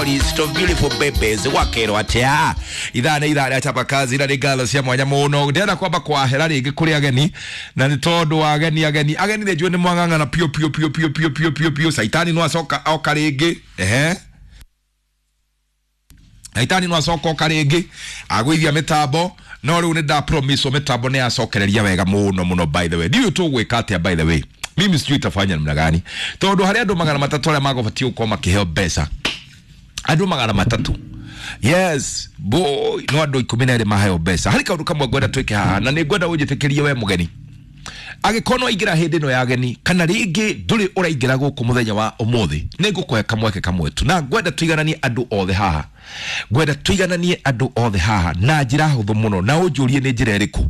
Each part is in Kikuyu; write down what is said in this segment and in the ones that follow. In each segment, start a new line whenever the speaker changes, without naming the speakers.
list of beautiful babies. Wakerwo atia ithaa nĩ ithaa rĩa chapa kazi na nĩ ngatho cia mwanya mũno. Ndĩrenda kwamba kwahera rĩngĩ kũrĩ ageni, na nĩ tondũ wa ageni ageni ageni nĩ njũĩ nĩ mwang'ang'ana piũ piũ piũ piũ piũ piũ piũ piũ. Caitani no acoka oka rĩngĩ, ehe, Caitani no acoka oka rĩngĩ agũithia mĩtambo, no rĩu nĩ nda promise mĩtambo nĩ yacokereria wega mũno mũno. By the way, ndiũĩ tũgwĩka atĩa. By the way, mimi sijui itafanya namna gani, tondũ harĩ andũ 300 arĩa magũbatiĩ gũkorwo makĩheo mbeca, andũ 300, yes boy, no andũ 12 maheo mbeca. Harĩ kaũndũ kamwe ngwenda twĩke haha, na nĩ ngwenda ũnjĩtĩkĩrie we mũgeni, angĩkorwo no waingĩra hĩndĩ ĩno ya ageni kana rĩngĩ ndũrĩ ũraingĩra gũkũ mũthenya wa ũmũthĩ, nĩ ngũkũhe kamweke kamwe tu, na ngwenda tũigananie andũ othe haha, ngwenda tũigananie andũ othe haha na njĩra hũthũ mũno, na ũnjũrie nĩ njĩra ĩrĩkũ.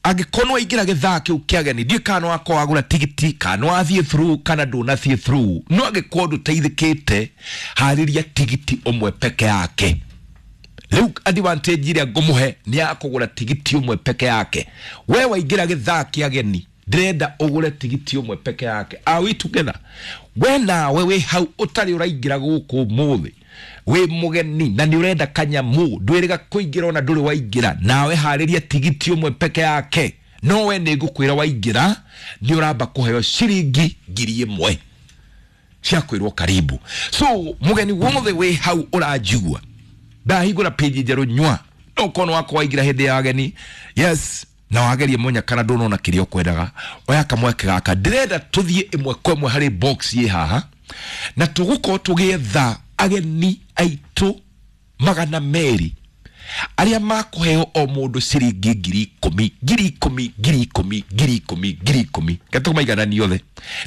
Angĩkorwo nĩ waingĩra gĩthaa kĩu kĩa ageni, ndiũĩ kana wakorwo wagũra tigiti, kana wathiĩ through kana ndũnathiĩ through, no angĩkorwo ndũteithĩkĩte, harĩria tigiti ũmwe peke yake. Rĩu advantage ĩrĩa ngũmũhe nĩ ya kũgũra tigiti ũmwe peke yake. We waingĩra gĩthaa kĩa ageni, ndĩrenda ũgũre tigiti ũmwe peke yake. Are we together? We nawe wĩ hau ũtarĩ ũraingĩra gũkũ ũmũthĩ, wĩ mũgeni na nĩ ũrenda kanyamũ, ndwĩrĩga kũingĩra ona ndũrĩ waingĩra, nawe harĩria tigiti ũmwe peke yake. No we nĩ ngũkwĩra waingĩra nĩ ũramba kũheo ciringi 1000 cia kwĩrwo karibu. So mũgeni wothe wĩ hau ũranjigua, ndahingũra page njerũ nyua, no ũkorwo wakwa waingĩra hĩndĩ ya ageni, yes, na wagerie mwenya kana ndũnona kĩrĩa ũkwendaga, oya kamweke gaka. Ndĩrenda tũthiĩ ĩmwe kwa ĩmwe harĩ box ĩ haha, na tũgũkorwo tũgĩetha ageni aitũ 200 arĩa makũheo o mũndũ ciringi 10,000, 10,000, 10,000, 10,000, 10,000, gatũmaiganani othe.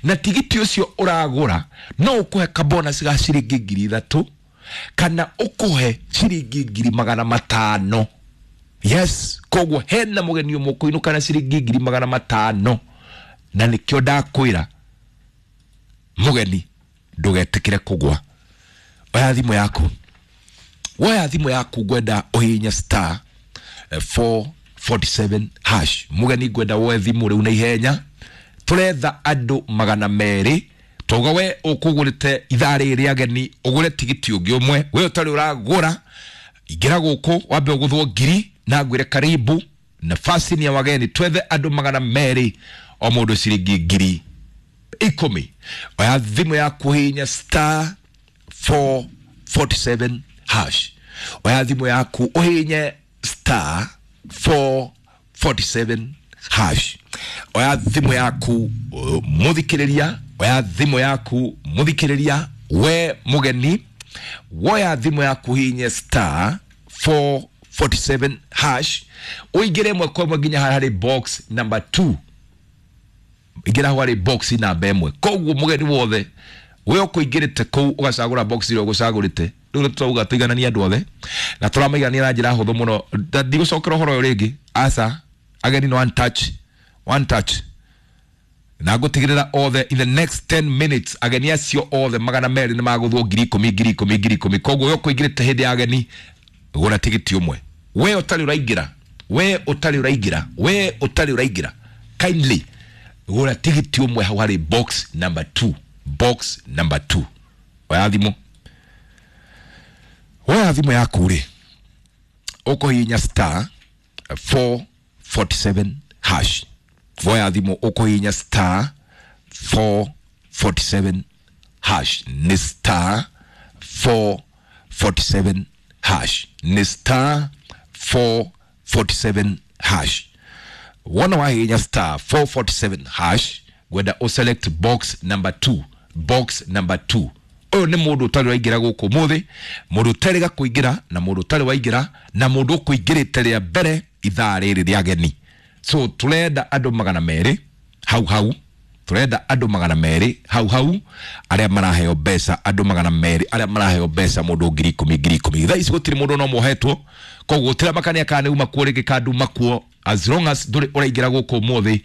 Na tigiti ũcio ũragũra no ũkũhe kabonus ga ciringi 3,000 kana ũkũhe ciringi 500,000. Yes, koguo hena mũgeni ũmwe ũkũinũka na ciringi 500,000, na nĩkĩo ndakwĩra mũgeni ndũgetĩkĩre kũgwa. Oya thimũ yaku, woya thimũ yaku, ngwenda ũhihinye star 447 hash. Mũgeni ngwenda woe thimũ rĩu na ihenya, tũretha andũ 200. Twauga we ũkũgũrĩte ithaa rĩrĩ rĩa ageni, ũgũre tigiti ũngĩ ũmwe. We ũtarĩ ũragũra, ingĩra gũkũ wambe ũgũthwo ngiri na ngwĩre karibu, nafasi ni ya wageni. Twethe andũ 200, o mũndũ ciringi 10,000. Oya thimũ yaku, hihinya star 447 hash. Oya thimũ yaku ũhihinye star 447 hash. Oya thimũ yaku mũthikĩrĩria, oya thimũ yaku mũthikĩrĩria, we mũgeni, woya thimũ yaku hihinye star 447 hash, ũingĩre ĩmwe kwa ĩmwe nginya harĩ box number 2. Ingĩra hau harĩ box namba 1. Koguo mũgeni wothe we ũkũingĩrĩte kũu ũgacagũra box ĩrĩa ũgũcagũrĩte. Rĩu nĩ tũrauga tũigananie andũ othe na tũramaigania na njĩra hũthũ mũno. Ndigũcokera ũhoro ũyũ rĩngĩ, aca, ageni no one touch, one touch, na ngũtigĩrĩra othe in the next 10 minutes ageni acio othe 200 nĩ magũthwo 10,000, 10,000, 10,000. Koguo we ũkũingĩrĩte hĩndĩ ya ageni, gũra tigiti ũmwe. We ũtarĩ ũraingĩra, we ũtarĩ ũraingĩra, we ũtarĩ ũraingĩra, kindly gũra tigiti ũmwe hau harĩ box number 2, box number 2. Oya thimũ, woya thimũ yaku rĩ, ũkũhihinya star 447 hash. Woya thimũ, ũkũhihinya star 447 hash, nĩ star 447 hash, nĩ star 447 hash. Wona wahihinya star 447 hash, ngwenda ũselect box number 2, box number 2. Ũyũ nĩ mũndũ ũtarĩ waingĩra gũkũ ũmũthĩ, mũndũ ũtarĩga kũingĩra na mũndũ ũtarĩ waingĩra na mũndũ ũkũingĩrĩte rĩa mbere ithaa rĩrĩ rĩa ageni. So tũrenda andũ 200 hau hau, tũrenda andũ 200 hau hau arĩa maraheo mbeca, andũ 200 arĩa maraheo mbeca, mũndũ 10,000, 10,000. Thaa ici gũtirĩ mũndũ no mohetwo, koguo gũtiramakania kana nĩ uma kuo rĩngĩ kana nduma kuo. As long as ndũrĩ ũraingĩra gũkũ ũmũthĩ,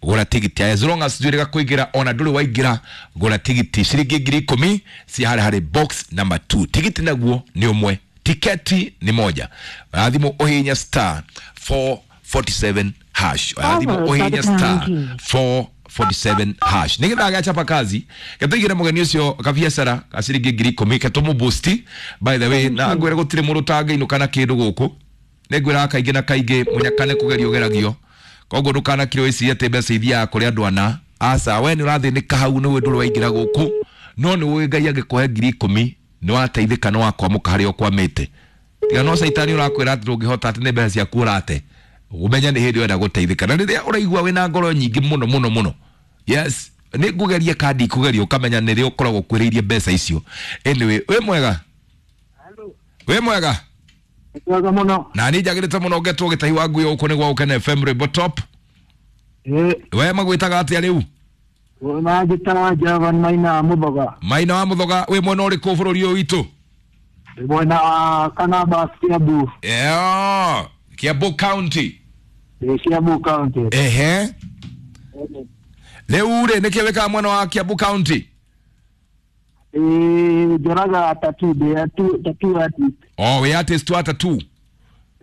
gũra tigiti. As long as ndũrĩ kũingĩra ona ndũrĩ waingĩra, gũra tigiti ciringi 10,000 cia harĩ harĩ box number 2. Tigiti naguo nĩ ũmwe, tiketi ni moja. Oya thimũ ũhihinye star 447 hash. Oya thimũ
Followed by
ũhihinye
the pound
star
key.
447 hash nä gethaa gäachapa kazi getåigä re må geni å cio kabiacara ka ciringi 10,000 ketå må boost. By the way, na ngwä re gå tirä må ndå tangä inå kana kä ndå gå kå nä ngwä raga kaingä na kaingä må nyaka nä kå gerio geragio koguo ndå kanakire wä cirie atä mbeca ithiaga kå rä andå ana aca we nä å rathä nä ka hau nä wä ndå rä waingä ra gå kå no nä å Ngai angä kåhe 10,000 nä wateithä ka nä wakwamå ka harä a ũkwamä te tiga no caitani å rakwä ra atä ndå ngä hota atä nä mbeca ciaku å rate ũmenye nä hä ndä wenda gå teithä na rä rä a å raigua wä na ngoro nyingä må no må no må no yes nä ngå geria kandi kå geria å kamenya nä rä å koragwo kwä rä irie mbeca icio. Anyway, wä mwega? Wä mwega?
Mwega mũno.
Na niä njagä rä te må no ngetwo gä tahi wa ngui gå kå nä gwa gå kena FM Rwĩmbo Top.
Ĩĩ.
We magwĩtaga atĩa rĩu?
Manjĩtaga Javan Maina wa Mũthoga.
Maina wa Mũthoga, wĩ mwena ũrĩkũ bũrũri ũyũ witũ?
Ndĩ mwena wa Kanaba, Kiambu.
Yeah, Kiambu County.
Ndĩ Kiambu County.
Ehe, rĩu rĩ nĩkĩ wĩkaga mwena wa Kiambu County?
Ĩĩ, njoraga tattoo, ndĩ tattoo artist.
O wĩ artist wa tattoo?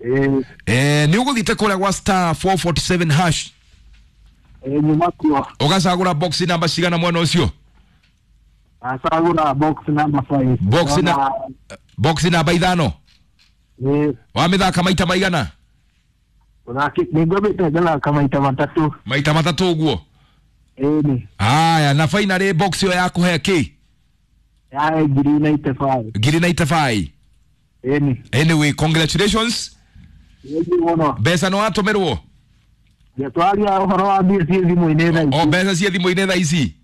Ĩĩ.
Eh, nĩ ũgũthiĩte kũrĩa gwa star 447 hash?
Ĩĩ, nyuma kuo.
Ũgacagũra box namba cigana mwena ũcio?
Acagũra box number 5.
Box na box namba 5?
Ĩĩ.
Wamĩthaka maita maigana?
Nĩngwambĩte ngathaka maita 3.
Maita 3 ũguo?
Ĩĩ nĩ.
Haya, na finally box ĩyo yakũhe kĩ?
Yae 95,000.
95,000?
Ĩĩ nĩ.
Anyway, congratulations.
Ĩĩ mũno.
Mbeca nĩ watũmĩrwo?
Twaria ũhoro wa mbia ciĩ thimũ-inĩ thaa ici.
O mbeca ciĩ thimũ-inĩ thaa ici?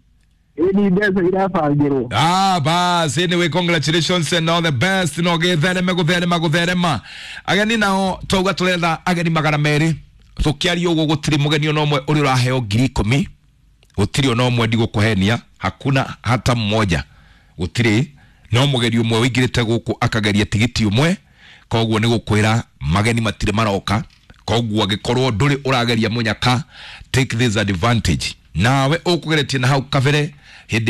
Ĩĩ nĩ, mbeca irabangĩrwo.
Ah, bas, anyway, congratulations and all the best. No gĩthereme gũtherema gũtherema. Ageni nao twauga tũretha ageni 200. Tũkĩaria ũguo gũtirĩ mũgeni ona ũmwe ũrĩa ũraheo 10,000. Gũtirĩ ona ũmwe, ndigũkũhenia, hakuna hata mmoja. Gũtirĩ no mũgeni ũmwe ũingĩrĩte gũkũ akageria tigiti ũmwe, koguo nĩ gũkwĩra mageni matirĩ maroka. Koguo angĩkorwo ndũrĩ ũrageria mũnyaka, take this advantage nawe ũkũgeretie na hau kabere hĩndĩ.